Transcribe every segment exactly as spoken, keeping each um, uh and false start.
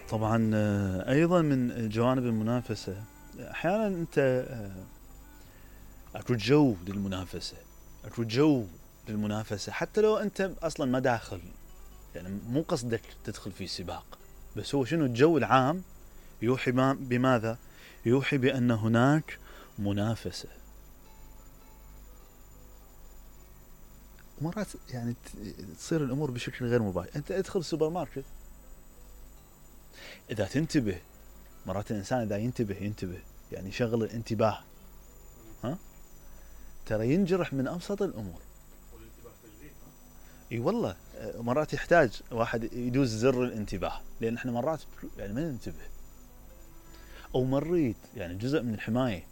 طبعا آه، ايضا من جوانب المنافسه احيانا انت آه، اكو جو للمنافسه، اكو جو للمنافسه حتى لو انت اصلا ما داخل، يعني مو قصدك تدخل في سباق، بس هو شنو الجو العام يوحي بماذا؟ يوحي بان هناك منافسه. ومرات يعني تصير الامور بشكل غير مباشر. انت ادخل السوبر ماركت، اذا تنتبه مرات الانسان اذا ينتبه ينتبه يعني شغل الانتباه، ها ترى ينجرح من ابسط الامور. اي والله مرات يحتاج واحد يدوز زر الانتباه، لان احنا مرات يعني ما ننتبه، او مريت يعني جزء من الحمايه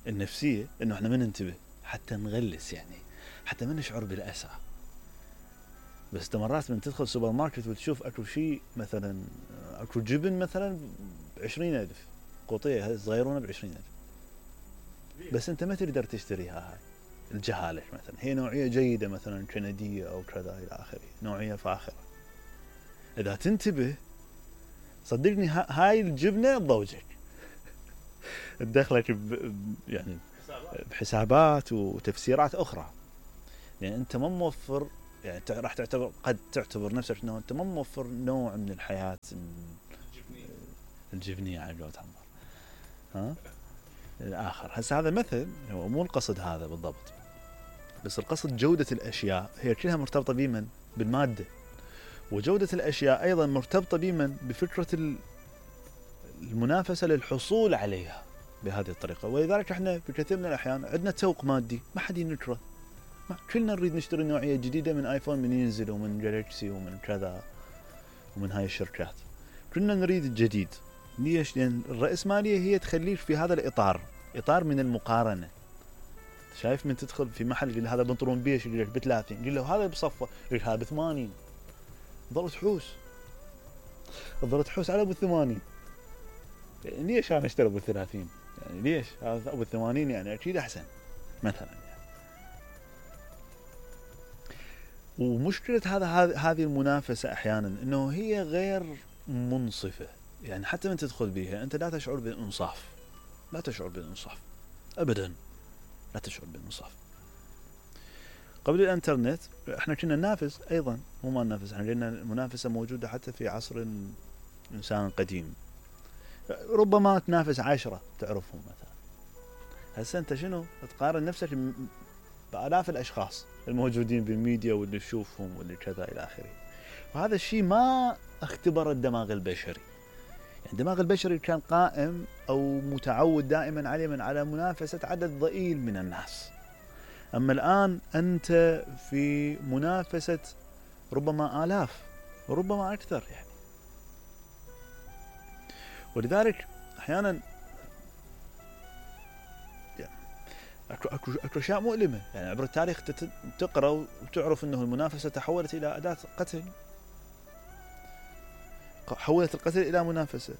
النفسيه انه احنا ما ننتبه حتى نغلس، يعني حتى ما نشعر بالاسى. بس انت مرات من تدخل سوبر ماركت وتشوف اكو شيء مثلا اكو جبن مثلا بعشرين الف، قوطيه صغيرونه بعشرين الف، بس انت ما تقدر تشتريها. هاي الجهاله مثلا، هي نوعيه جيده مثلا كنديه او كذا الى اخره، نوعيه فاخره. اذا تنتبه صدقني هاي الجبنه تضوجك تدخلك يعني بحسابات وتفسيرات اخرى، يعني انت ما موفر، يعني راح تعتبر قد تعتبر نفسك انه انت ما موفر نوع من الحياه الجبنيه على قولة عمار، ها الاخر. هسه هذا مثل، هو مو القصد هذا بالضبط، بس القصد جوده الاشياء هي كلها مرتبطه بمن؟ بالماده. وجوده الاشياء ايضا مرتبطه بمن؟ بفكره المنافسه للحصول عليها بهذه الطريقه. ولذلك احنا في كثير من الاحيان عندنا تسوق مادي ما حد ينكره، كلنا نريد نشتري نوعيه جديده من ايفون من ينزل، ومن جالكسي، ومن كذا، ومن هاي الشركات، كلنا نريد الجديد. ليش؟ لان الرأسماليه هي تخليك في هذا الاطار، اطار من المقارنه. شايف من تدخل في محل يقول هذا بنطلون بيش، يقول لك ب ثلاثين، يقول له هذا بصفه، يقول لك هذا ب ثمانين، ظل تحوس ظل تحوس على ابو ثمانين. يعني ليش انا اشتري ابو ثلاثين؟ يعني ليش هذا ابو ثمانين؟ يعني اكيد احسن مثلا. يعني ومشكله هذا هذه المنافسه احيانا انه هي غير منصفه، يعني حتى من تدخل بها انت لا تشعر بالانصاف، لا تشعر بالانصاف ابدا، لا تشعر بالانصاف. قبل الانترنت احنا كنا ننافس ايضا، مو ما ننافس، احنا لان المنافسه موجوده حتى في عصر الانسان القديم، ربما تنافس عشرة تعرفهم مثلا. هسه انت شنو تقارن نفسك بالاف الاشخاص الموجودين بالميديا واللي تشوفهم واللي كذا الى اخره. وهذا الشيء ما اختبر الدماغ البشري، يعني الدماغ البشري كان قائم او متعود دائما عليه من على منافسه عدد ضئيل من الناس. اما الان انت في منافسه ربما الاف وربما اكثر يعني. ولذلك احيانا يعني اكو اكو اكو اشياء مؤلمه، يعني عبر التاريخ تقرا وتعرف انه المنافسه تحولت الى اداه قتل، حولت القتل الى منافسه.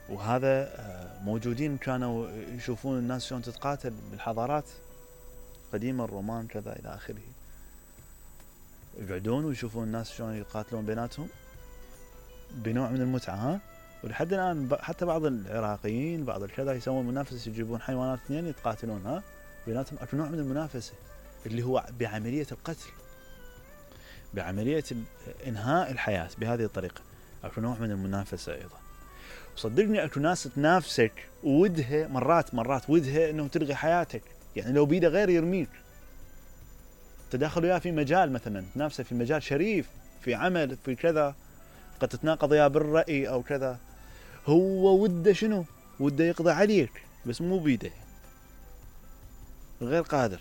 وهذا موجودين كانوا يشوفون الناس شلون تتقاتل بالحضارات قديمه، الرومان كذا الى اخره، يقعدون ويشوفون الناس شلون يقاتلون بيناتهم بنوع من المتعه. ها ولحد الان حتى بعض العراقيين بعض الكذا يسوون منافسه، يجيبون حيوانات اثنين يتقاتلون ها بيناتهم، اكو نوع من المنافسه اللي هو بعمليه القتل، بعمليه انهاء الحياه بهذه الطريقه، اكو نوع من المنافسه ايضا. وصدقني اكو ناس تنافسك ودها مرات مرات ودها انه تلغي حياتك، يعني لو بيده غير يرميك. تداخل وياه في مجال مثلا تنافسه في مجال شريف، في عمل، في كذا، قد تتناقض وياه بالرأي او كذا، هو وده شنو؟ وده يقضي عليك بس مو بيده، غير قادر.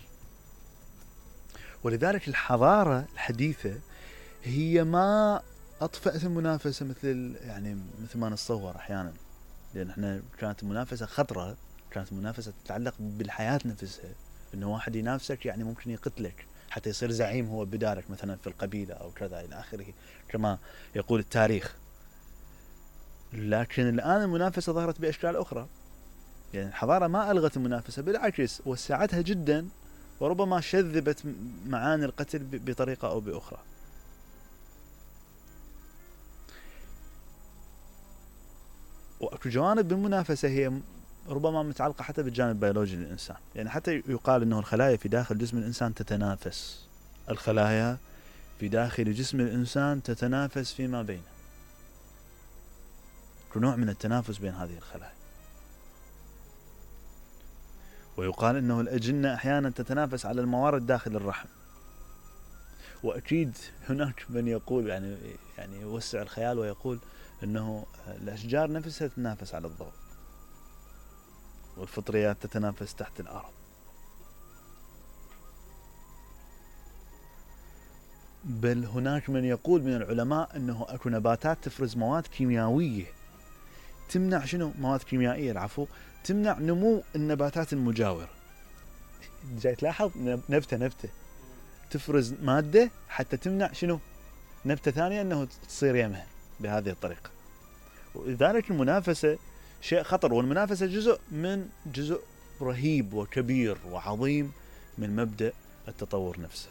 ولذلك الحضارة الحديثة هي ما أطفأت المنافسة مثل يعني مثل ما نتصور أحيانا، لأن احنا كانت المنافسة خطرة، كانت المنافسة تتعلق بالحياة نفسها، إنه واحد ينافسك يعني ممكن يقتلك حتى يصير زعيم هو بدالك مثلا في القبيلة أو كذا إلى آخره كما يقول التاريخ. لكن الآن المنافسة ظهرت بأشكال أخرى، يعني الحضارة ما ألغت المنافسة، بالعكس وسعتها جدا، وربما شذبت معاني القتل بطريقة أو بأخرى. اكو جوانب بالمنافسه هي ربما متعلقه حتى بالجانب البيولوجي للانسان، يعني حتى يقال انه الخلايا في داخل جسم الانسان تتنافس، الخلايا في داخل جسم الانسان تتنافس فيما بينها، نوع من التنافس بين هذه الخلايا. ويقال انه الاجنه احيانا تتنافس على الموارد داخل الرحم. واكيد هناك من يقول يعني يعني يوسع الخيال ويقول انه الاشجار نفسها تتنافس على الضوء، والفطريات تتنافس تحت الارض. بل هناك من يقول من العلماء انه اكو نباتات تفرز مواد كيميائيه تمنع شنو؟ مواد كيميائيه العفو تمنع نمو النباتات المجاوره. جاي تلاحظ نبته نبته تفرز ماده حتى تمنع شنو؟ نبته ثانيه انه تصير يمها بهذه الطريقه. ولذلك المنافسه شيء خطر، والمنافسه جزء من جزء رهيب وكبير وعظيم من مبدأ التطور نفسه.